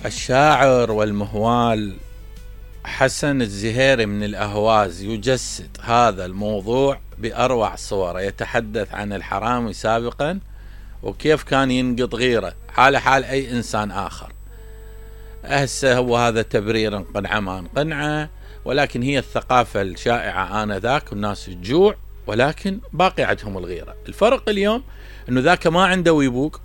الشاعر والمهوال حسن الزهيري من الأهواز يجسد هذا الموضوع بأروع صوره. يتحدث عن الحرامي سابقا وكيف كان ينقض غيره حال أي إنسان آخر. هسه هو هذا تبرير قنعة ما قنعة، ولكن هي الثقافة الشائعة آنذاك، والناس تجوع ولكن باقي عندهم الغيرة. الفرق اليوم إنه ذاك ما عنده ويبوك،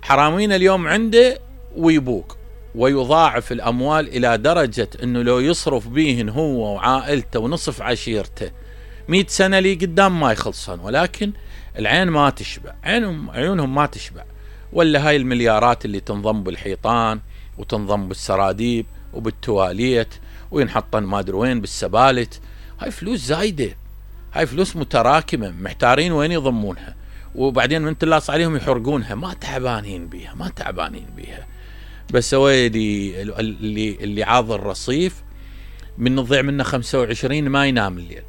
حرامينا اليوم عنده ويبوك ويضاعف الأموال إلى درجة أنه لو يصرف بيهن هو وعائلته ونصف عشيرته 100 سنة لي قدام ما يخلصن، ولكن العين ما تشبع، عيونهم ما تشبع. ولا هاي المليارات اللي تنضم بالحيطان وتنضم بالسراديب وبالتواليت وينحطن ما ادري وين بالسبالت، هاي فلوس زايدة، هاي فلوس متراكمة، محتارين وين يضمونها، وبعدين من تلاص عليهم يحرقونها. ما تعبانين بيها. بس هو اللي عاض الرصيف من نضيع منه 25 ما ينام الليل،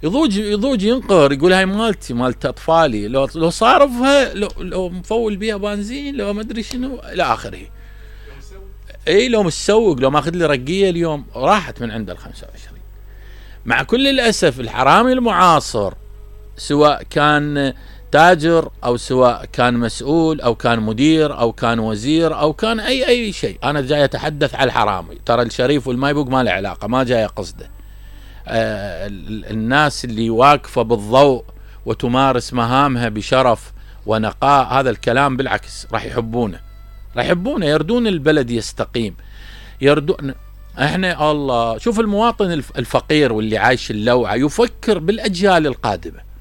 يضوج ينقر، يقول هاي مالتي مالت اطفالي، لو صارفها، لو مفول بيها بنزين، لو ما ادري شنو الى اخره. لو مسوق، لو ماخذ لي رقيه اليوم راحت من عند ال 25. مع كل الاسف الحرامي المعاصر سواء كان تاجر او سواء كان مسؤول او كان مدير او كان وزير او كان اي شيء، انا جاي اتحدث على الحرامي، ترى الشريف والمايبوق ما له علاقه، ما جاي قصده. الناس اللي واقفه بالضوء وتمارس مهامها بشرف ونقاء، هذا الكلام بالعكس راح يحبونه، يردون البلد يستقيم، يردون. احنا الله، شوف المواطن الفقير واللي عايش اللوعه يفكر بالاجيال القادمه.